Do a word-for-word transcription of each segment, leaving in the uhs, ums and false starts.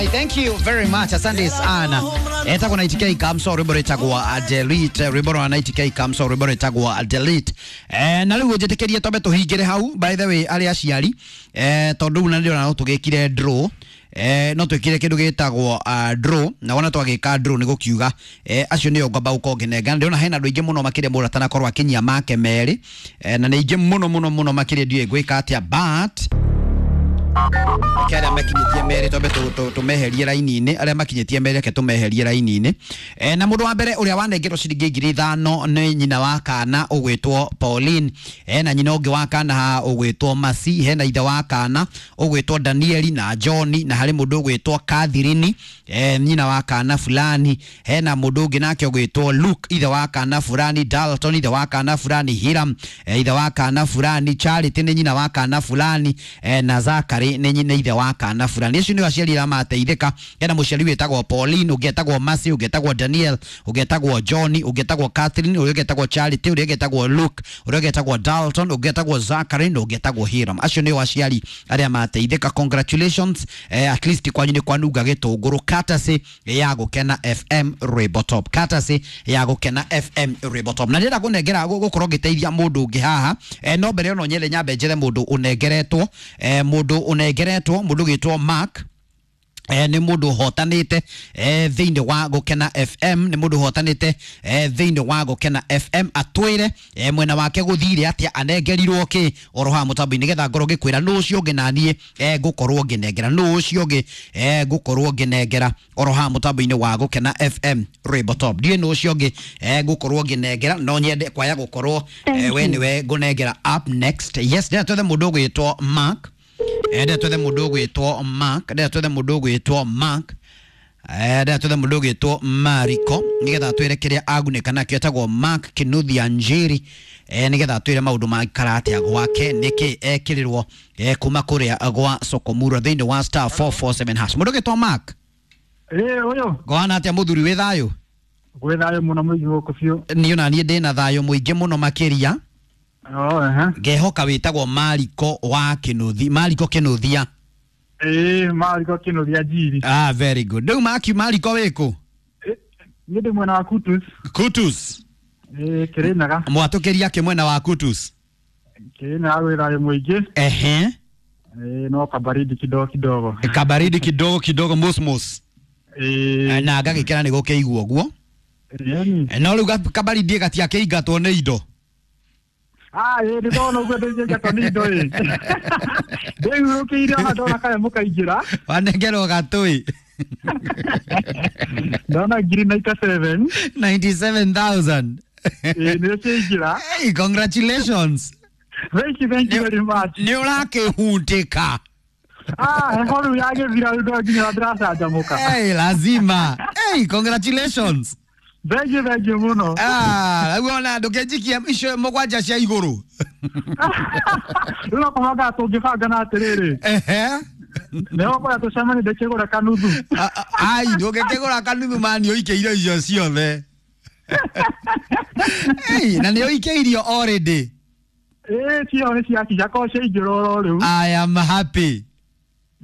Right, thank you very much. Asante sana. Etagwo ninety K Kamso, rwimbo rwĩtagwo Delete, rwimbo rwa ninety K Kamso, rwimbo rwĩtagwo Delete. Eh, na rĩu njĩtĩkĩrie twambe tũhingĩre hau, by the way, arĩa aciari, eh, tondũ rĩu na ndĩrona no tũgĩkire draw. Eh, no twĩkire kĩndũ gĩtagwo uh, draw, na wona twagĩka draw nĩ gũkiuga eh, acio nĩo ngwamba gũkorwo ngĩnengera. Ndĩrona hena andũ aingĩ mũno makĩria mũndũ atanakorwo akinyia make merĩ, eh, na nĩ aingĩ mũno mũno mũno makĩria, ndiũĩ ngwĩka atĩa, but reke arĩa makinyĩtie merĩ twambe tũmeherie raini-inĩ, arĩa makinyĩtie merĩ reke tũmeherie raini-inĩ. E, na mũndũ wa mbere ũrĩa wanengerwo ciringi ngiri ithano nĩ nyina wa kana ũgwĩtwo Pauline, e, na nyina ũngĩ wa kana ha ũgwĩtwo Masi, hena ithe wa kana ũgwĩtwo Danieli na John, na harĩ mũndũ ũgwĩtwo Catherine, e, nyina wa kana fulani, hena mũndũ ũngĩ nake ũgwĩtwo Luke, ithe wa kana fulani, Dalton ithe wa kana fulani, Hiram e, ithe wa kana fulani, Charity nĩ nyina wa kana fulani, e, na Zachary nĩ nyina ithe wa kana fulani. Acio nĩo aciari arĩa mateithĩka. Hena mũciari wĩtagwo Pauline, ũngĩ etagwo Mercy, ũngĩ etagwo Daniel, ũngĩ etagwo John, ũngĩ etagwo Catherine, ũrĩa ũngĩ etagwo Charity, ũrĩa ũngĩ etagwo Luke, ũrĩa ũngĩ etagwo Dalton, ũngĩ etagwo Zachary na ũngĩ etagwo Hiram. Acio nĩo aciari arĩa mateithĩka. Congratulations, eh, at least kwanyu nĩ kwanunga gĩtũngũrũ, courtesy ya Gũkena F M Rwĩmbo Top, courtesy ya Gũkena F M Rwĩmbo Top. Na ndĩrenda kũnengera gũkorwo ngĩteithia mũndũ ũngĩ haha, eh, no mbere ĩyo no nyende nyambe njĩre mũndũ ũnengeretwo, eh, mũndũ ũnengeretwo, mũndũ ũgĩtwo Mark. Eh, nĩ mũndũ ũhotanĩte eh, thĩinĩ wa Gũkena F M, nĩ mũndũ ũhotanĩte eh, thĩinĩ wa Gũkena F M, atwĩre eh, mwena wake gũthire atĩa, anengerirwo kĩ oro haha mũtambo-inĩ, nĩgetha ngorwo ngĩkwĩra nũ ũcio ũngĩ naniĩ eh, ngũkorwo ngĩnengera, nũ ũcio ũngĩ eh, ngũkorwo ngĩnengera oro haha mũtambo-inĩ wa Gũkena F M Rwĩmbo Top. Ndiũĩ nũ ũcio ũngĩ eh, ngũkorwo ngĩnengera, no nyende kwaya gũkorwo eh, we nĩwe ngũnengera up next. Yes, ndĩrenda twethe mũndũ ũgwĩtwo Mark. Ndĩrenda twethe mũndũ ũgwĩtwo Mark, ndĩrenda twethe mũndũ ũgwĩtwo Mark, ndĩrenda twethe mũndũ ũgwĩtwo Mariko, nĩgetha atwĩre kĩrĩa agunĩka nakĩo. Etagwo Mark Kinuthia Njeri, nĩgetha atwĩre maũndũ maikara atĩa gwake, nĩkĩ ekĩrĩrwo kuma kũrĩa gwa Sokomura thĩinĩ wa star four four seven hash. Mũndũ ũgwĩtwo Mark. Ĩĩ ũyũ. Ngwana atĩa mũthuri, wĩ thayũ? Gwĩ thayũ mũno mũingĩ gũkũ biũ. Niĩ ona niĩ ndĩna thayũ mũingĩ mũno makĩria. Oh, ehe. Ngehoka wĩtagwo Mariko wa Kinuthi, Mariko Kinuthia. Ĩĩ, Mariko Kinuthia Njiri. Ah, very good. Rĩu Maki, Mariko wĩkũ? Niĩ ndĩ mwena wa Kutus. Kutus. Ĩĩ, Kĩrĩnyaga. Mwatũkĩria kĩ mwena wa Kutus? Kĩrĩnyaga gwĩ thayũ mũingĩ. Ehe. Ĩĩ, no kabaridi kidogo kidogo. Kabaridi kidogo kidogo, mosmos. Ĩĩ. Na ngagĩkena nĩ gũkĩigua ũguo. Ĩni. No rĩu kabaridi gatiakĩingatwo nĩ indo. Ah, ĩĩ, nĩ ndona ũguo ndĩnjĩngatwo nĩ indo ĩ. Ndĩhurũkĩire ona ndona kaya mũkaingĩra. Wanengerwo gatũĩ. Ndona ngiri ninety seven. ninety seven thousand. Ĩĩ, nĩ ciaingĩra. Hey, congratulations. Thank you, thank you very much. Nĩ ũrakĩhutĩka. Ah, heho rĩu yagĩthira rĩu no nginya ndĩracanjamũka. Hey, lazima. Hey, congratulations. Thank you, thank you mũno. Ah, rĩu ona ndũkĩnjikia icio mũgwanja cia igũrũ. Rĩu no kũbanga tũngĩbanga na atĩrĩrĩ. Ehe. Nĩho kũrĩa tũcemanie ndĩkĩgũra kanuthu. Ai, ndũngĩkĩgũra kanuthu mani ũikĩire icio ciothe. Hey, na nĩ ũikĩirio already. Ĩĩ, cio nĩ ciakinya korwo ciaingĩra oro rĩu. I am happy.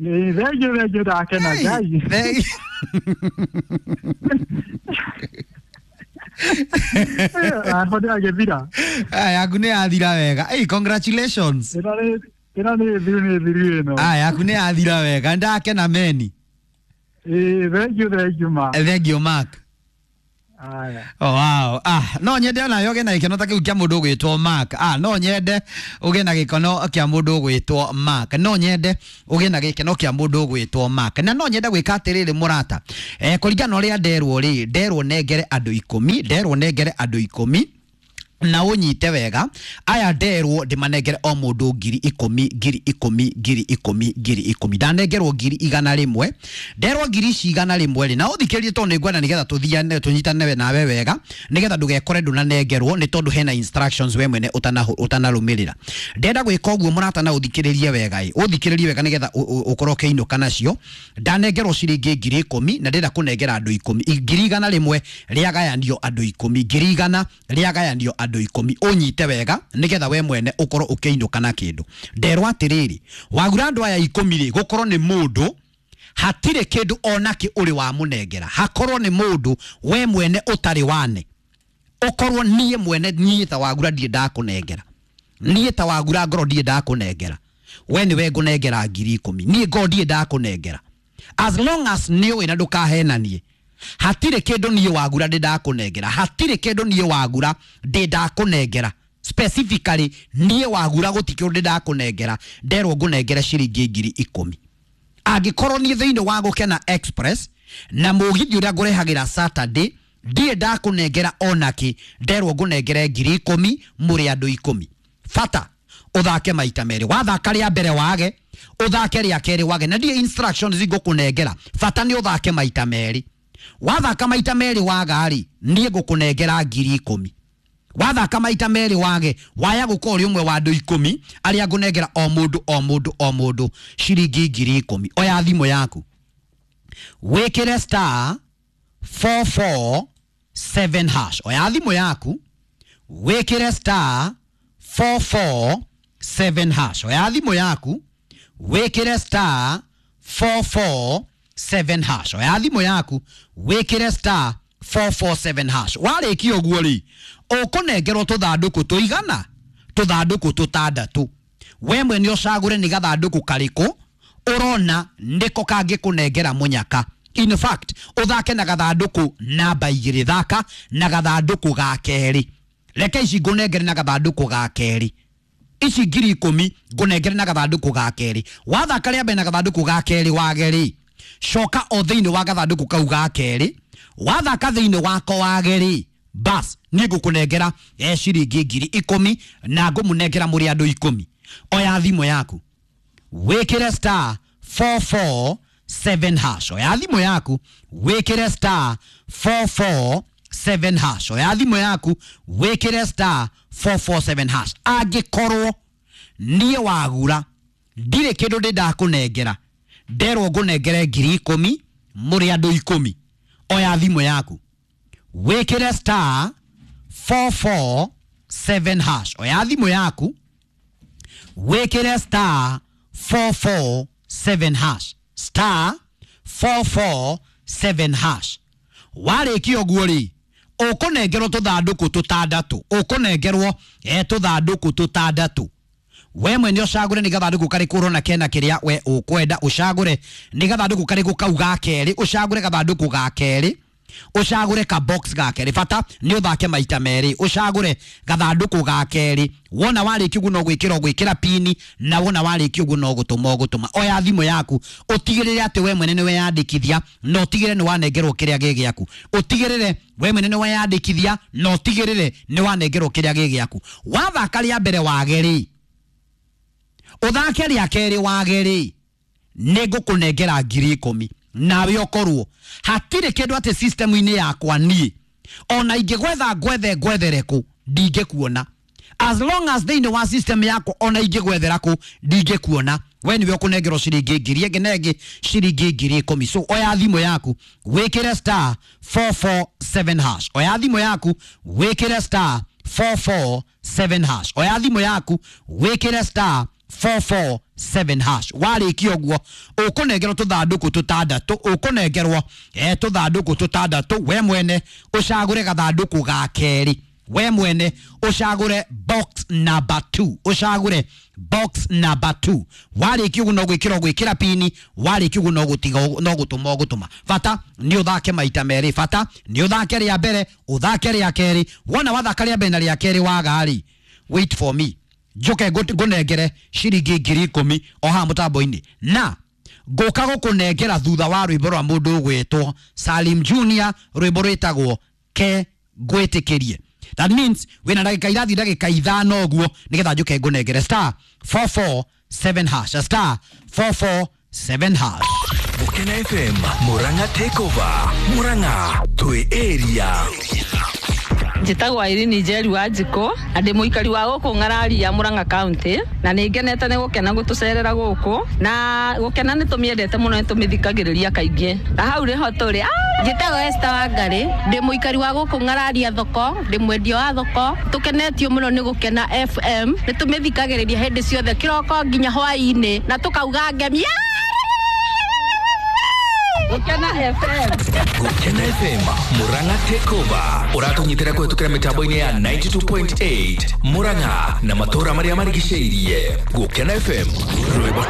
Nĩ thank you, thank you, ndakena Ngai. Thank Aho ndĩragĩthira. Ah, yaku nĩ yathira wega. Hey, congratulations. Ĩno nĩ ĩno nĩ thiru, nĩ thiru ĩno. Ah, yaku nĩ yathira wega. Ndakena meni. Ĩĩ, thank you, thank you ma. Thank you Mark. Aya. Oh, wow. Ah, no nyende ona yoge na gĩkeno ta kĩu kĩa mũndũ ũgwĩtwo Mark. Ah, no nyende ũgĩe na gĩkeno kĩa mũndũ ũgwĩtwo Mark. No nyende ũgĩe na gĩkeno kĩa mũndũ ũgwĩtwo Mark. Na no nyende gwĩka atĩrĩrĩ mũrata. Eh, kũringana na ũrĩa nderwo rĩ, nderwo nengere andũ ikũmi, nderwo nengere andũ ikũmi. Na ũnyite wega, aya nderwo ndĩmanengere o mũndũ ngiri ikũmi, ngiri ikũmi, ngiri ikũmi, ngiri ikũmi. Ndanengerwo ngiri igana rĩmwe, nderwo ngiri ici igana rĩmwe rĩ, na ũthikĩrĩrie tondũ nĩngwenda nĩgetha tũthiane, tũnyitane nawe wega, nĩgetha ndũgekore ndũnanengerwo, nĩ tondũ hena instructions we mwene ũtanarũmĩrĩra. Ndenda gwĩka ũguo mũrata, na ũthikĩrĩrie wega ĩ, ũthikĩrĩrie wega nĩgetha ũkorwo ũkĩinũka nacio. Ndanengerwo ciringi ngiri ikũmi na ndĩrenda kũnengera andũ ikũmi, ngiri igana rĩmwe rĩagayanio andũ ikũmi, ngiri igana rĩagayanio andũ ikũmi. Ũnyite wega nĩgetha we mwene ũkorwo ũkĩinũka na kĩndũ. Nderwo atĩrĩrĩ, wagura andũ aya ikũmi rĩ, gũkorwo nĩ mũndũ Hatirĩ kĩndũ onakĩ ũrĩ wamũnengera. Hakorwo nĩ mũndũ we mwene ũtarĩ wane, ũkorwo niĩ mwene niĩ ta Wagura ndirĩ ndakũnengera, niĩ ta Wagura ngoro ndirĩ ndakũnengera, we nĩwe ngũnengera ngiri ikũmi, niĩ ngoro ndirĩ ndakũnengera. As long as nĩũĩ na ndũkahenanie, hatirĩ kĩndũ niĩ Wagura ndĩ ndakũnengera, hatirĩ kĩndũ niĩ Wagura ndĩ ndakũnengera. Specifically niĩ Wagura gũtirĩ kĩndũ ndĩ ndakũnengera, nderwo ngũnengere ciringi ngiri ikũmi. Angĩkorwo niĩ thĩinĩ wa Gũkena Express na mũgithi ũrĩa ngũrehagĩra Saturday ndirĩ ndakũnengera onakĩ, nderwo ngũnengere ngiri ikũmi mũrĩ andũ ikũmi. Bata ũthake maita merĩ, wathaka rĩa mbere wage, ũthake rĩa kerĩ wage, na ndirĩ instructions ngũkũnengera. Bata nĩ ũthake maita merĩ. Wathaka maita merĩ waga rĩ, niĩ ngũkũnengera ngiri ikũmi. Wathaka maita merĩ wage, waya gũkorwo ũrĩ ũmwe wa andũ ikũmi arĩa ngũnengera o mũndũ o mũndũ o mũndũ ciringi ngiri ikũmi. Oya thimũ yaku wĩkĩre star four four seven hash. Oya thimũ yaku wĩkĩre star four four seven hash. Oya thimũ yaku wĩkĩre star four four seven hash. Oya thimũ yaku wĩkĩre star four four seven hash. Warĩkia ũguo rĩ, ũkũnengerwo tũthandũkũ tũigana tũthandũkũ tũtandatũ. We mwene ũcagũre nĩ gathandũkũ karĩkũ ũrona nĩko kangĩkũnengera mũnyaka. In fact, ũthake na gathandũkũ namba igĩrĩ, thaka na gathandũkũ ga kerĩ. Reke ici ngũnengere na gathandũkũ ga kerĩ, ici ngiri ikũmi ngũnengere na gathandũkũ ga kerĩ. Wathaka rĩa mbere na gathandũkũ ga kerĩ wage rĩ, coka o thĩinĩ wa gathandũkũ kau ga kerĩ. Wathaka thĩinĩ wako wage rĩ, bas niĩ ngũkũnengera e ciringi ngiri ikũmi na ngũmũnengera mũrĩ andũ ikũmi. Oya thimũ yaku wĩkĩre star four four seven hash. Oya thimũ yaku wĩkĩre star four four seven hash. Oya thimũ yaku wĩkĩre star four four seven hash. Angĩkorwo niĩ Wagura ndirĩ kĩndũ ndĩ ndakũnengera, nderwo ngũnengere ngiri ikũmi mũrĩ andũ ikũmi, oya thimũ yaku wĩkĩre star four four seven hash. Oya thimũ yaku wĩkĩre star four four seven hash. Star four four seven hash. Warĩkia ũguo rĩ, ũkũnengerwo tũthandũkũ tũtandatũ, ũkũnengerwo e tũthandũkũ tũtandatũ. We mwene ũcagũre nĩ gathandũkũ karĩkũ ũrona kena kĩrĩa we ũkwenda, ũcagũre nĩ gathandũkũ karĩkũ kau ga kerĩ, ũcagũre gathandũkũ ga kerĩ, ũcagũre ka box ga kerĩ. Bata nĩ ũthake maita merĩ, ũcagũre gathandũkũ ga kerĩ. Wona warĩkia ũguo no gwĩkĩra ũgwĩkĩra pini, na wona warĩkia ũguo no gũtũma ũgũtũma. Oya thimũ yaku ũtigĩrĩre atĩ we mwene nĩ weyandĩkithia, na ũtigĩrĩre nĩ wanengerwo kĩrĩa gĩ gĩaku. Ũtigĩrĩre we mwene nĩ weyandĩkithia, na ũtigĩrĩre nĩ wanengerwo kĩrĩa gĩ gĩaku. Wathaka rĩa mbere wage rĩ, ũthake rĩa kerĩ wage rĩ, nĩ ngũkũnengera ngiri ikũmi. Nawe ũkorwo hatirĩ kĩndũ atĩ system-inĩ yakwa niĩ ona ingĩgwetha ngwethe ngwethere kũ ndingĩkuona. As long as thĩinĩ wa system yakwa ona ingĩgwethera kũ ndingĩkuona, we nĩwe ũkũnengerwo ciringi ngiri ĩngĩ na ĩngĩ ciringi ngiri ikũmi. So oya thimũ yaku wĩkĩre star four four seven hash. Oya thimũ yaku wĩkĩre star four four seven hash. Oya thimũ yaku wĩkĩre star four four seven hash. Warĩkia ũguo ũkũnengerwo tũthandũkũ tũtandatũ, ũkũnengerwo e tũthandũkũ tũtandatũ. We mwene ũcagũre gathandũkũ ga kerĩ, we mwene ũcagũre box number two, ũcagũre box number two. Warĩkia ũguo no gwĩkĩra ũgwĩkĩra pini, warĩkia ũguo no gũtiga no gũtũma ũgũtũma. Bata nĩ ũthake maita merĩ, bata nĩ ũthake rĩa mbere, ũthake rĩa kerĩ. Wona wathaka rĩa mbere na rĩa kerĩ waga rĩ, wait for me njoke ngũnengere ciringi ngiri ikũmi o haha mũtambo-inĩ, na ngũka gũkũnengera thutha wa rwĩmbo rwa mũndũ ũgwĩtwo Salim Junior, rwĩmbo rwĩtagwo Ke Ngwĩtĩkĩrie. That means wĩna ndagĩka irathi ndagĩka ithano ũguo nĩgetha njũke ngũnengere star four four seven hash, star four four seven hash. Gũkena F M Murang'a Takeover. Murang'a twĩ area. Njĩtagwo Irene Njeri wa Njikũ na ndĩ mũikari wa gũkũ Ng'araria Murang'a County, na nĩ ngenete nĩ gũkena gũtũcerera gũkũ, na gũkena nĩ tũmĩendete mũno, nĩ tũmĩthikagĩrĩria kaingĩ, na hau nĩho tũrĩ. Njĩtagwo Esther Wangari, ndĩ mũikari wa gũkũ Ng'araria thoko, ndĩ mwendia wa thoko. Tũkenetio mũno nĩ Gũkena F M, nĩ tũmĩthikagĩrĩria hĩndĩ ciothe kĩroko nginya hwaĩ-inĩ, na tũkauga ngemi. Gũkena F M. Gũkena F M Murang'a Takeover ũratũnyitĩra kũhetũkĩra mĩtambo-inĩ ya ninety two point eight Murang'a na matũũra marĩa marigicĩirie. Gũkena F M rwĩmbo